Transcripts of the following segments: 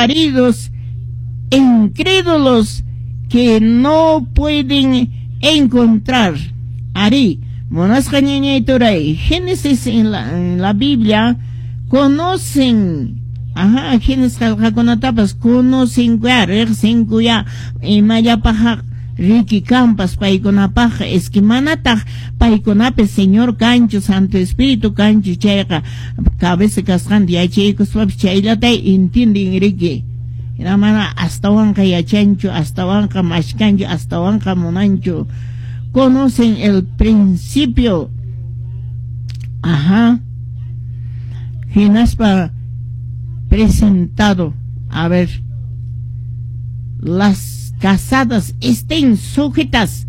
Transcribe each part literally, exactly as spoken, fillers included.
maridos incrédulos que no pueden encontrar. Arí, munasqa ñañay turay, Génesis en la, en la Biblia conocen, ajá, Génesis qillqakunatapas conocen ya, riqsinku ya, imallapaq riki kampas paykunapaq, es que manataq paykunapi Señor kanchu, Santo Espíritu kanchu, chayqa cabeza kasqanta yachaykuspapis chayllata entienden riki. Hina mana astawanqa yachanchu, astawanqa mashkanchu, astawanqa munanchu. Conocen el principio. Ajá. Hinaspa presentado. A ver, las casadas estén sujetas,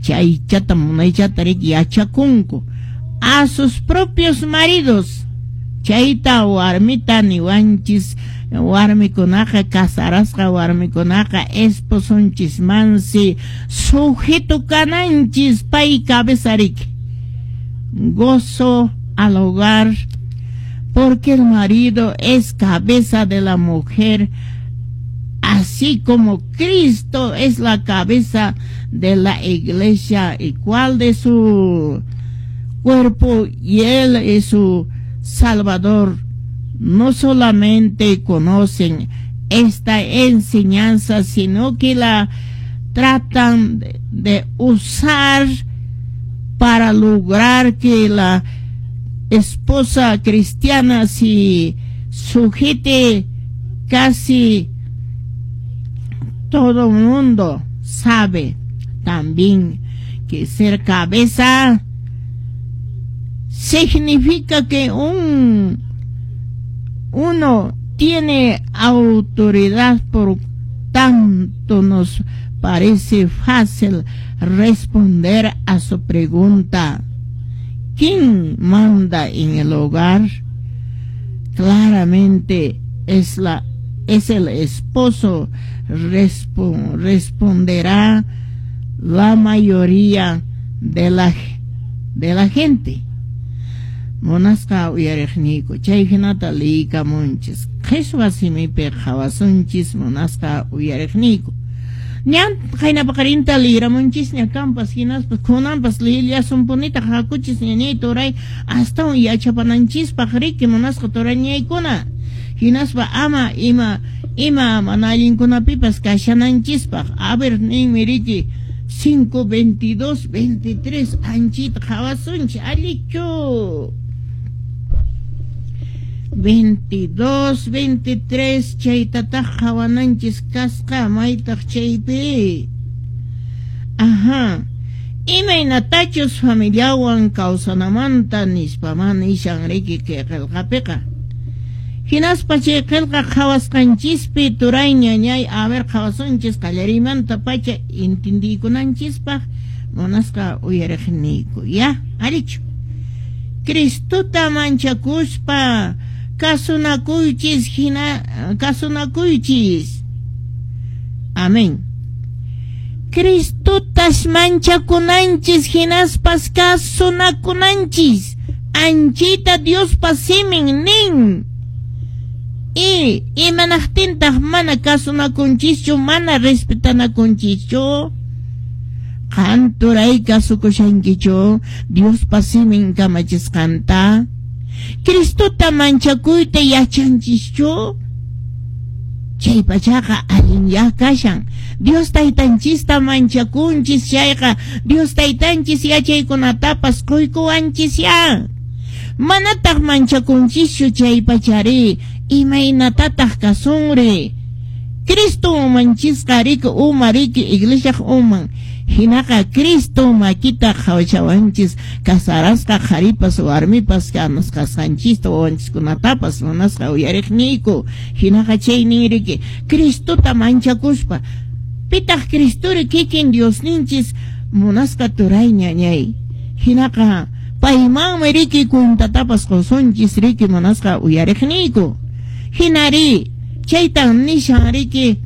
chaychata munaychata riki yachakunku, a sus propios maridos. Chayta warmita niwanchis, warmikunaqa casarasqa warmikunaqa esposonchismansi sujeto kananchis, pay cabeza riki. Gozo al hogar, porque el marido es cabeza de la mujer, así como Cristo es la cabeza de la iglesia, igual de su cuerpo, y él es su Salvador. No solamente conocen esta enseñanza, sino que la tratan de, de usar para lograr que la esposa cristiana se sujete. Casi todo el mundo sabe también que ser cabeza significa que un uno tiene autoridad, por tanto nos parece fácil responder a su pregunta: ¿quién manda en el hogar? Claramente es la es el esposo, responderá la mayoría de la de la gente. Munasqa uyariqniyku, chay hinata liykamunchis qhichwa simipi qhawasunchis, munasqa uyariqniyku. Ñan qayna paqarinta liyramunchisña kampas, hinaspas kunanpas liyillasunpunitaq, hakuchis ñañay turay, astawan yachapananchispaq riki, munasqa turañaykuna, hinaspa ama ima ima mana allinkunapipas kashananchispaq. A ver, ninmi riki cinco, veintidós, veintitrés, anchita qhawasunchis, allichu. veintidós, veintitrés, chaytataq qhawananchis kasqa, maytaq chaypi. Ajá. Imaynatachus familiawan kawsanamanta nispaman nishan riki kay qillqapiqa. Hinaspa chay qillqa qhawasqanchispi turay ñañay, a ver, qhawasunchis qallariymanta pacha intindiykunanchispaq, munasqa uyariqniyku, ya, allichu. Cristota manchakuspa kasunakuychis, hina kasunakuychis. Amén. Cristotas manchakunanchis hinaspas kasunakunanchis. Anchita Diospa simin nin. Y imanaqtintaq mana kasunakunchischu, mana respetanakunchischu? Qan turay kasukushankichu Diospa simin kamachisqanta? Cristota manchakuyta yachanchischu? Chay pachaqa allinya kashan. Dios taytanchista manchakunchis chayqa Dios taytanchis yachaykunatapas quykuwanchis ya. Manataq manchakunchischu chay pachari, imaynatataq kasunri? Cristo umanchisqa riki, uma riki, iglesiaq uman. Hinaqa Cristo makita qhawachawanchis casarasqa qharipas warmipas kasqanchista wawanchiskunatapas, munasqa uyariqniyku. Hinaqa chaynin riki Cristota manchakuspa. Pitaq Cristuri? Kikin Diosninchis, munasqa turay ñañay. Hinaqa paymanmi riki cuentatapas qusunchis riki, munasqa uyariqniyku. Hinari chaytan nishan riki.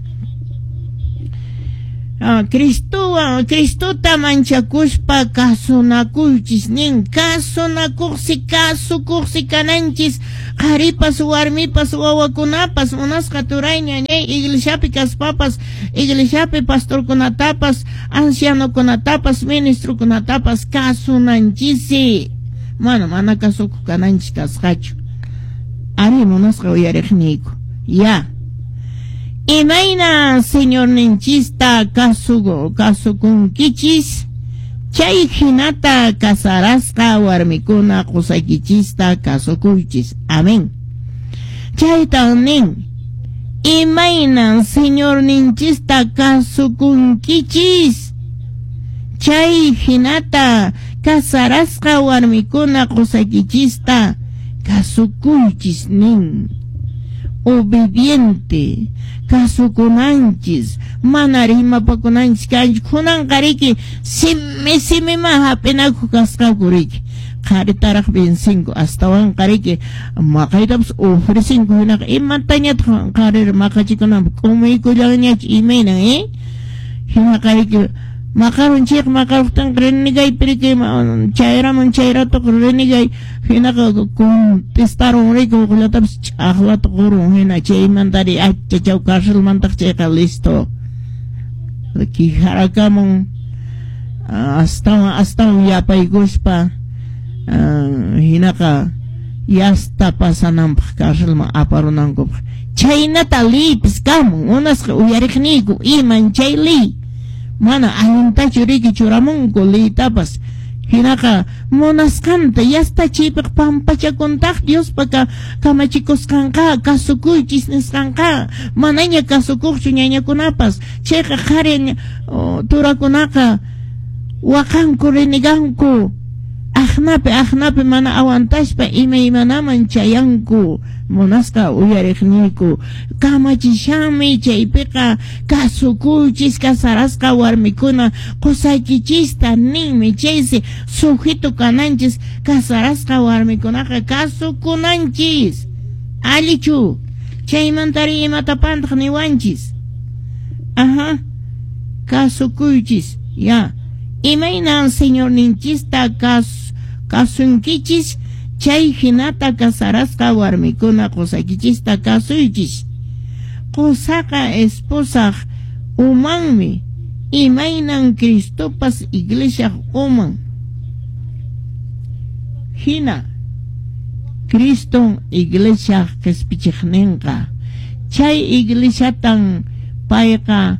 Ah, Cristowan Cristota manchakuspa kasunakuychis nin, kasunakuqsi kasukuqsi kananchis qharipas warmipas wawakunapas munasqa turay ñañay iglesiapi kaspapas iglesiapi pastorkunatapas ancianokunatapas ministrokunatapas kasunanchisi, mana mana kasukuq kananchis kasqachu. Ari munasqa uyariqniyku ya. Imayna Señorninchista kasuku kasukunkichis chay hinata kasarasqa warmikuna qusaykichista kasukuychis. Amén. Chaytan nin, imaynan Señorninchista kasukunkichis chay hinata kasarasqa warmikuna qusaykichista kasukuychis nin. Obediente kasukunanchis, mana rimapakunanchis kanchis. Kunanqa riki simi simiman hap'inakuq kasqaku riki, qharitaraq vencinku, astawanqa riki maqaytapas ofrecinku, hinaqa imatañataq qharira maqachikunanpaq k'umuykullanñachu imaynan eh hinaqa riki maqarun chayqa maqaruqtinqa renegaypi riki chayraman chayratoq renegay, hinaqa contestarun riki huqllatapas ch'aqlata qurun, hina chaymantari achachaw carcelmantaq chayqa listo kijarakamun astawan astawan yapaykuspa hinaqa yasta pasananpaq carcelman aparunankupaq. Chaynata liypis kamun unasqa uyariqniyku iman chay liy mana allintachu riki churamunku liytapas, hinaqa munasqanta yasta chaypiq pampachakuntaq Diospa kamachikusqanqa kasukuychis nisqanqa manaña kasukuqchu ñañakunapas. Chayqa qhari turakunaqa waqanku reneganku aqnapi aqnapi mana aguantaspa imaymanaman chayanku. Munasqa uyariqniyku kamachishanmi chaypiqa kasukuychis kasarasqa warmikuna qusaykichista ninmi. Chaysi sujeto kananchis kasarasqa warmikunaqa kasukunanchis. Allichu chaymantari imatapantaq niwanchis. Ajá, kasukuychis ya. Imaynan Señorninchista kas kasunkichis chay hinata kasarasqa warmikuna qusaykichista kasuychis. Qusaqa esposaq umanmi, imaynan Cristopas iglesiaq uman hina Criston iglesiaq qispichiqninqa. Chay iglesiatan payqa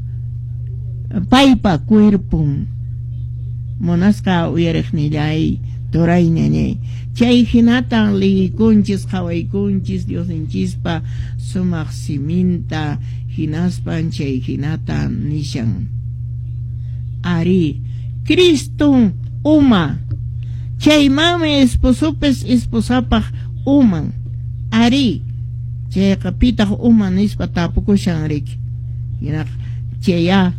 paypa cuerpon. Munasqa uyariqnillay turay ñañay chay hinatan liykunchis qhawaykunchis Diosninchispa sumaq siminta hinaspan chay hinata nishan. Ari Criston uma chaymanmi esposopis esposapaq uman. Ari chayqa pitaq uma nispa tapukushan riki. Hinaqa chaya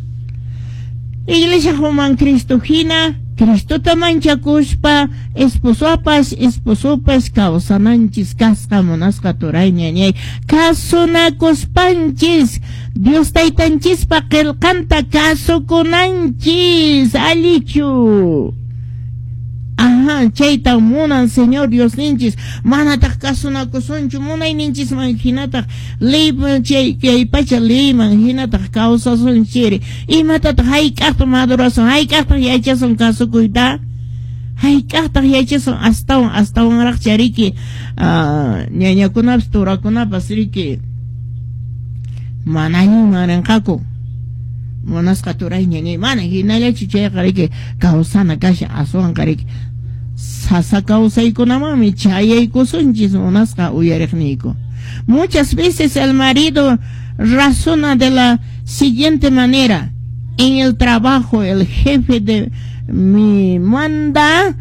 iglesia uman Cristo hina Cristota manchakuspa esposopas esposopas kawsananchis kasqa munasqa turay ñañay kasunakuspanchis Dios taytanchispa qillqanta kasukunanchis. Allichu. Ajá, chaytan munan Señor Diosninchis manataq kasunakusunchu munayninchisman hinataq leyman chay kay pacha leyman hinataq kawsasunchiri. Imatataq hayk'aqtaq madurasun hayk'aqtaq yachasun kasukuyta hayk'aqtaq yachasun astawan astawanraq chariki ñañakunapas turakunapas riki manañuman rinqaku. Munasqa turay ñañay mana hinallachu chayqa riki kawsana kashan aswanqa riki sasa kawsaykunamanmi chayaykusunchis munasqa uyariqniyku. Muchas veces el marido razona de la siguiente manera: en el trabajo el jefe de me manda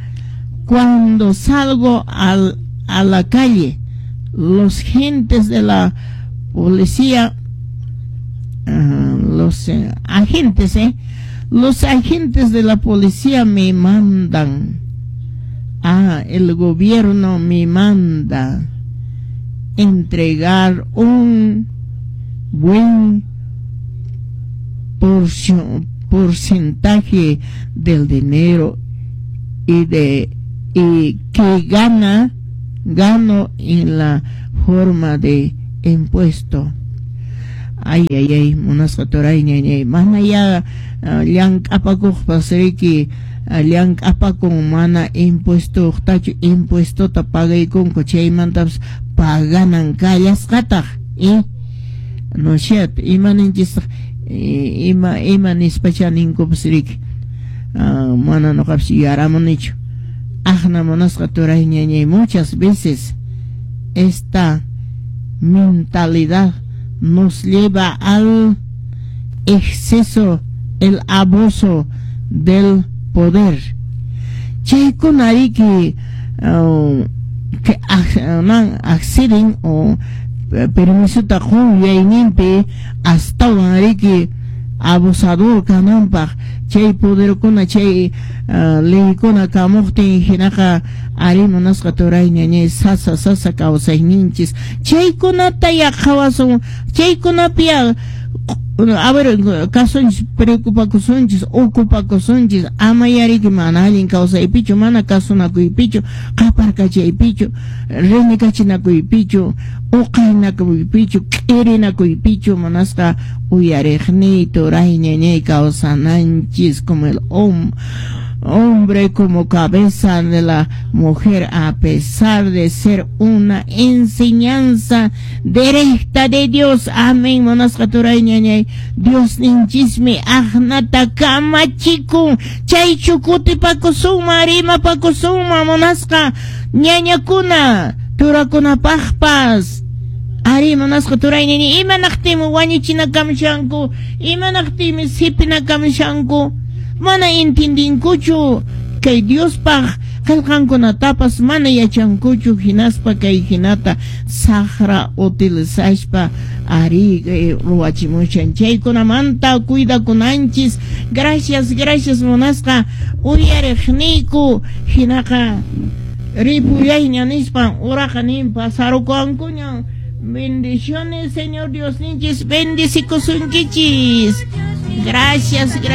cuando salgo al, a la calle, los gentes de la policía, uh, los eh, agentes, eh, los agentes de la policía me mandan. Ah, el gobierno me manda entregar un buen porción, porcentaje del dinero y de y que gana gano en la forma de impuesto. Ay, ay, ay, munasqa turay ñañay, mana ya llank'apakuqpas riki llank'apakun mana impuestotachu, impuestota pagaykunku, chaymantapas paganan kallasqataq, eh? No cierto, ima ninchistaq, ima ima nispacha ninkupas riki, mana nuqapas yuyaramunichu. Aqna munasqa turay ñañay, muchas veces esta mentalidad nos lleva al exceso, el abuso del poder. Chaykuna riki uh, que acceden o permisota qun yuyayninpi astawan riki abusador kananpaq, chay poderkuna chay uh, leykuna kamuqtin hinaqa ari munasqa turay ñañay sasa sasa kawsayninchis. Chaykunata ya qhawasun, chaykunapi ya a ver, kasunchis, preocupakusunchis, ocupakusunchis, ama yariki mana allin kawsaypichu, mana kasunakuypichu, qaparkachaypichu, renikachinakuypichu, uqaynakuypichu, k'irinakuypichu, munasqa uyariqniy turay ñañay kawsananchis como el hombre hombre como cabeza de la mujer, a pesar de ser una enseñanza directa de Dios. Amén. Munasqa turay ñañay, Dios ninchismi aqnata kamachikun, chaychu kutipakusuma, rimapakusuma, munasqa ñañakuna turakunapaqpas. Ari munasqa turay ñañay, imanaqtinmi wañuchinakamshanku, imanaqtinmi sipinakamshanku, mana intindinkuchu kay Diospaq qillqankunatapas mana yachankuchu, hinaspa kay hinata saqra utilizashpa ari ruwachimushan. Chaykunamanta cuidakunanchis. Gracias, gracias munasqa uyariqniyku. Hinaqa ripullayña nispan uraqa nin pasarukuwankuña. Bendiciones, Señor Dios ninchis, bendicikusunkichis. Gracias, gracias.